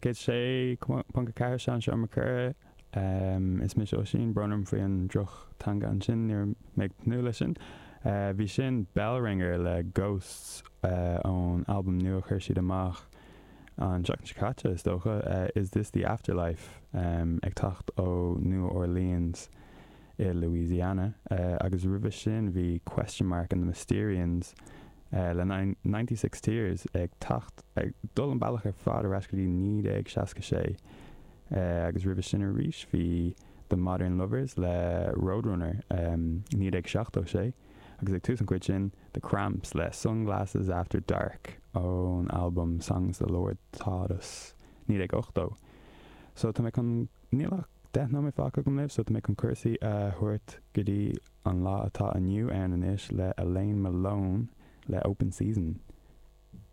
Life 106.4 Sean Seomra Coire. Is mise Oisín, brón orm faoi an droch-teanga ansin, ní raibh mé ag tnúth leis sin. Bhí sin Bellringer le Ghosts ón albam nua a chuir siad amach an tseachtain seo caite, is dócha, Is This The Afterlife, ag teacht ó New Orleans i Louisiana. Agus roimhe sin bhí Question Mark and the Mysterians le 96 Tears ag teacht, ag dul an bealach ar fad ar ais go dtí 1966. Agus roimhe sin arís bhí The Modern Lovers le Roadrunner, 1976, agus ag tús an chuid sin, The Cramps le Sunglasses After Dark ón albam Songs the Lord Taught Us, 1980. So tá mé chun, níl ach 10 nóiméad fágtha agam libh, so tá mé chun cúrsaí a thabhairt go dtí an lá atá inniu ann anois le Elaine Malone le Open Season.